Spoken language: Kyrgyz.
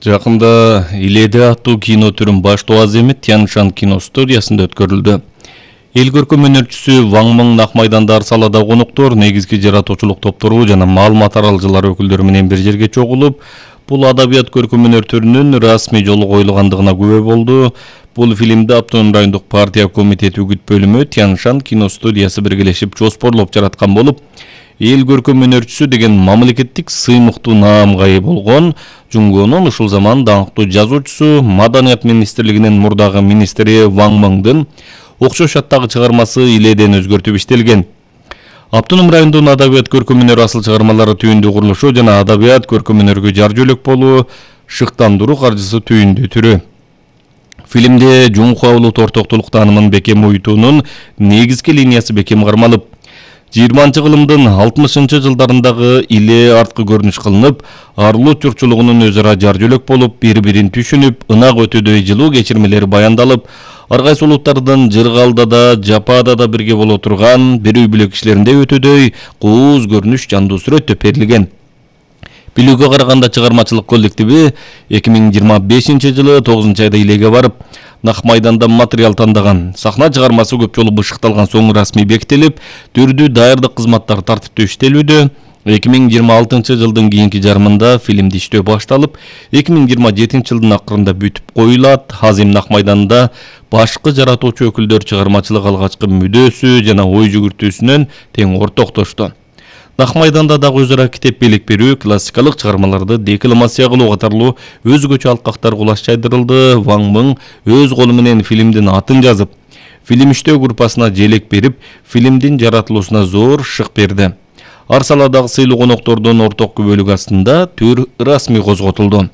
Жакында Иледе аттуу кино түрүн баштоо аземет Тяньшан кино студиясында өткөрүлдү. Эл көркөм өнөрчүсү Ван Мың Накмайданда Арсалада коноктор, негизги жаратуучулук топтору жана маалымат аралжылар өкүлдөрү менен бир жерге чогулуп, бул адабият көркөм өнөр түрүнүн расмий жолу коюлгандыгына күбө болду. Бул фильмди Автоном райондук партия комитети үгүт бөлүмү Тяньшан кино студиясы биргелешип жоспорлоп жараткан болуп, эл көркөм өнөрчүсү деген мамлекеттик сыймыктуу наамга ээ болгон Жунгонун ушул заман даңктуу жазуучусу, Маданият министрлигинин мурдагы министри Ван Мыңдын окшош аттагы чыгармасы Иледен өзгөртүп иштелген. Автоном райондун адабият көркөм өнөр асыл чыгармалары түйүндүү курулушу жана адабият көркөм өнөргө жар жөлөк болуу, шыктандыруу каржысы түйүндүү түрү. Фильмде Жунхуа улут ортоктулук таанымын бекем уютуунун негизги линиясы бекем кармалып, 20-кылымдын 60-жылдарындагы иле арткы көрүнүш кылынып, арлуу чурчулугунун өз ара жар жөлөк болуп, бири-бирин түшүнүп, ынак өтөдөй жылуу кечирмелери баяндалып, ар кайсы улуттардын жыргалда да, жапаада да бирге боло турган, бир үй бүлө кишилеринде өтөдөй кооз көрүнүш жандуу сүрөттө берилген. Билүүгө караганда чыгармачылык коллективи 2025-жылы 9-айда Илеге барып, Накмайданда материал тандаган. Сахна чыгармасы көп жолу бышыкталган соң расмий бекитилип, түрдүү даярдык кызматтары тартиптүү иштелүүдө. 2026-жылдын кийинки жарымында фильмди иштөө башталып, 2027-жылдын акырында бүтүп коюлат. Азим Накмайданда башкы жаратуучу өкүлдөр чыгармачылык алгачкы мүдөөсү жана ой жүгүртүүсүнөн тең ортоктошту. Накмайданда дагы өзара китеп белек берүү, классикалык чыгармаларды декламация кылуу катарлуу өзгөчө алкактар кулаш жайдырылды. Ван Мың өз колу менен фильмдин атын жазып, фильм иштөө группасына желек берип, фильмдин жаратылуусуна зор шык берди. Арсаладагы сыйлуу коноктордун орток күбөлүк астында түр расмий козготулду.